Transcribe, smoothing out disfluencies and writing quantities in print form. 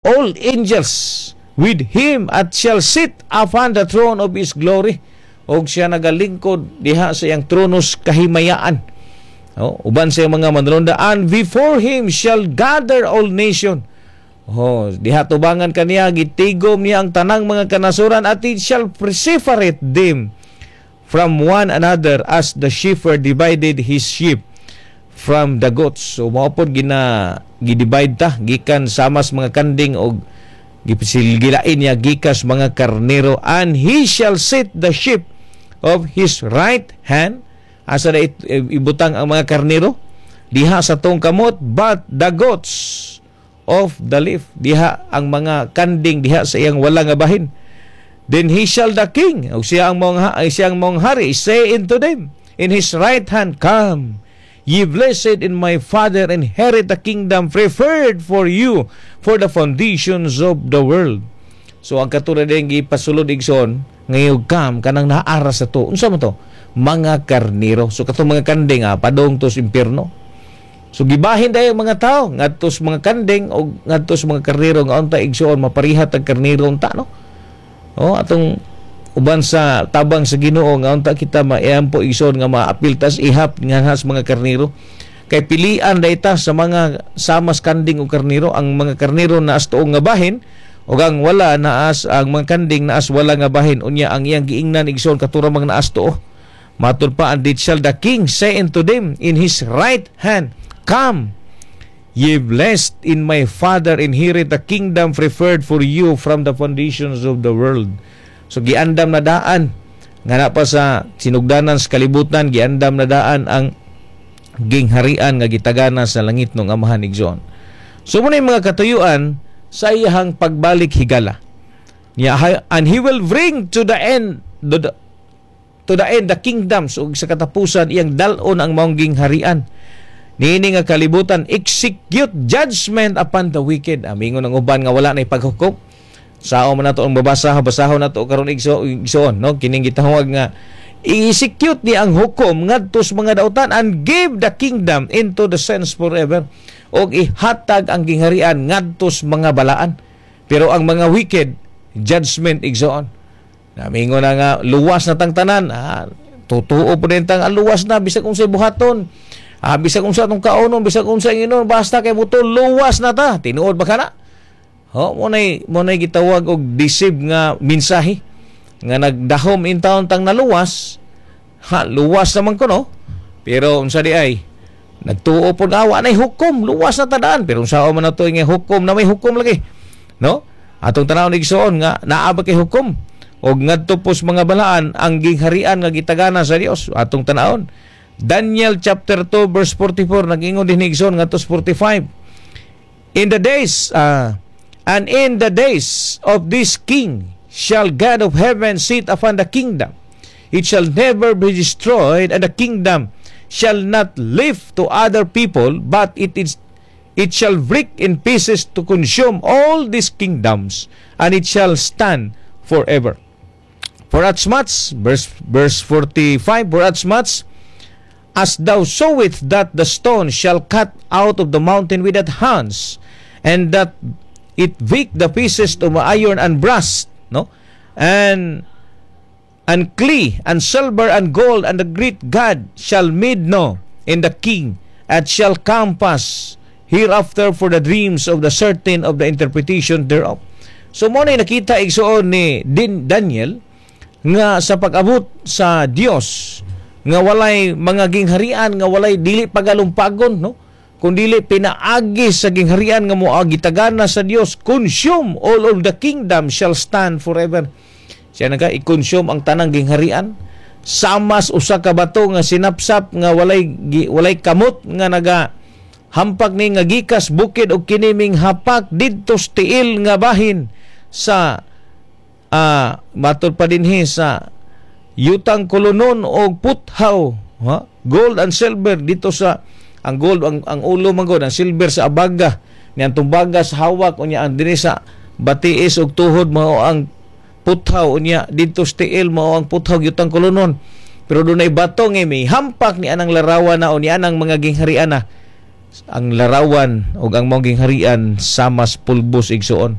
All angels with him at shall sit upon the throne of his glory, og siya nagalingkod diha sa iyang tronos kahimayaan. Oh, uban sa iyang mga manulonda, and before him shall gather all nation. Oh, diha tubangan kaniya, gitigom niya ang tanang mga kanasuran, at he shall separate them from one another as the shepherd divided his sheep from the goats. So mao pod gina gidivide ta gikan samas mga kanding og gipisilgilain niya gikas mga karnero. And he shall set the sheep of his right hand, asa na ibutang ang mga karnero? Diha sa tuong kamot. But the goats of the left, diha ang mga kanding diha sa iyang wala nga bahin. Then he shall the king, og siya ang mong hari, say unto them in his right hand, "Come, ye blessed in my Father, inherit the kingdom prepared for you for the foundations of the world." So ang katulad din gipasulod, igsoon, ngayong kam kanang naara sa to. Unsa man to? Mga karnero. So katong mga kanding, padong to sa impierno. So gibahin dayon mga tao ngadto sa mga kanding o ngadto sa mga karnero nga unta, igsoon, maparihat ang karnero unta, no? Oh, atong uban sa tabang sa Ginoo nga unta kita maayampo, igsoon, nga maapil tas ihap nga sa mga karnero, kay pilian dayta sa mga samas kanding o karnero. Ang mga karnero naas tuong nga bahin ug ang wala naas, ang mga kanding naas wala nga bahin. Unya ang iyang giingnan, igsoon, katura mga naas tuo. Matud pa, and it shall the king say unto them in his right hand, "Come, ye blessed in my Father, inherit the kingdom prepared for you from the foundations of the world." So giandam na daan nga na pa sa sinugdanan sa kalibutan, giandam na daan ang gingharian nga gitagana sa langit ng Amahan, igsoon. So muna yung mga katuyuan sa iyahang pagbalik higala. Niya, and he will bring to the end the kingdoms, ug sa katapusan iyang dal-on ang maong gingharian niini nga kalibutan, execute judgment upon the wicked. Amingon ang uban nga wala na ipaghukom. Sao man nato ang babasa, basahon nato karon, igsoon, no? Kining gitawag nga i-execute ni ang hukom ngadto sa mga dautan, and give the kingdom into the saints forever, og ihatag ang gingharian ngadto sa mga balaan. Pero ang mga wicked, judgment, igsoon. Namingon na nga luwas na tang tanan, totoo po din tang luwas na bisag unsay buhaton, bisag unsa atong kaonon, bisag unsa inon, basta kay buto, luwas na ta. Tinuod ba kana? Ho, mo nay gitawag og deceive nga mensahe nga nagdahom in town tang naluwas. Ha, luwas naman ko, no? Pero unsa di ay nagtuo pod awa nay hukom, luwas na tadaan. Pero unsa man nato nga hukom na may hukom lagi, no? Atong tan-awon, igsoon, nga naa ba kay hukom og ngadto pos mga balaan ang gingharian nga gitagana sa Dios. Atong tan-awon Daniel chapter 2 verse 44, nag-ingon din, igsoon, ngadto 45. In the days And in the days of this king shall God of heaven sit upon the kingdom. It shall never be destroyed, and the kingdom shall not live to other people, but it shall break in pieces to consume all these kingdoms, and it shall stand forever. For as much, verse 45, for as much as thou sawest that the stone shall cut out of the mountain without hands, and that it break the pieces of iron and brass, no? And clay and silver and gold, and the great God shall made know in the king, and shall compass hereafter for the dreams of the certain of the interpretation thereof. So mo na nakita, igsoon, ni din Daniel nga sa pag-abot sa Dios nga walay mga gingharian nga walay dili pagalumpagon, no, kung dili pinaagi sa gingharian nga moagi tagana sa Dios, consume all of the kingdom shall stand forever. Siya naga i-consume ang tanang gingharian samas usa ka bato nga sinapsap nga walay kamot nga naga hampak ni nga gikas bukid, og kini ming hapak didto sa tiil nga bahin sa matud pa dinhi sa yutang kolonon og puthaw, ha? Gold and silver dito sa ang gold ang ulo man gud, ang silver sa abaga ni, ang tumbaga sa hawak. Unya ang dinhi sa batiis og tuhod mao ang puthaw. Unya didto sa tiil mao ang puthaw, yutang kolonon. Pero dunay bato nga may hampak ni anang larawan na o ni anang mga gingharian na. Ang larawan ug ang maong harian sama sa pulbos, igsuon.